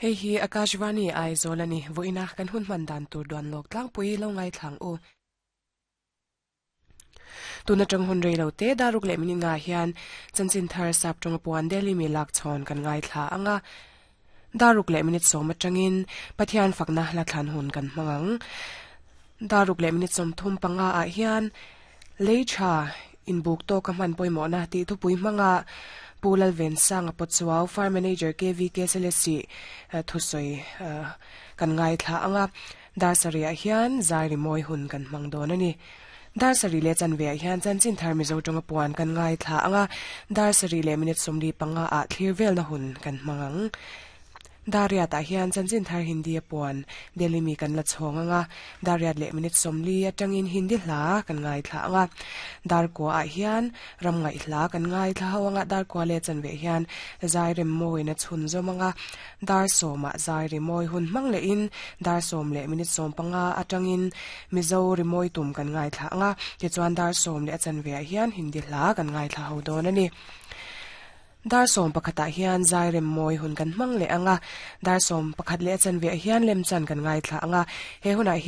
Hei hi Akashvani Aizawl a ni. Vawiina kan hun hman dan tur duan lawk tlangpui lo ngaithlang u. Tun atang hun rei lo te daruk leh minute ngah hian chanchin thar sap tawnga puan Delhi mi lak chhawn kan ngaithla ang a. Daruk leh minute sawm atangin Pathian fakna la thlan hun kan hmang ang. Daruk leh minute 35 ah hian lei tha inbuk tawka hman pawimawhna tih thupui hmanga Pu Lalvensanga Pawchuau Farm Manager KVK Selesih thusawi kan ngaithla ang a. Dar sarih-ah hian zai rimawi hun kan hmang dawn a ni. Dar sarih leh chanve-ah hian chanchin thar Mizo tawnga puan kan ngaithla ang a, dar sarih leh minute 45 ah thlir velna hun kan hmang ang. Dar riatah hian chanchin thar Hindi-a puan Delhi mi kan la chhawng ang a, dar riat leh minute 40 atangin Hindi hla kan ngaithla ang a. Dar kuaah hian ram ngaih hla kan ngaithla ho ang a, dar kua leh chanve hian zai rem mawina chhunzawm ang a. Dar sawmah zai rimawi hun hmang lehin dar sawm leh minute 15 atangin Mizo rimawi tum kan ngaithla ang a, tichuan dar sawm leh a chanveah hian Hindi hla kan ngaithla ho dawn a ni. Dar sawm pakhatah hian zai remmawi hun kan hmang leh ang a, dar sawm pakhat leh a chanveah hian lemchan kan ngaithla ang a, he hunah hian.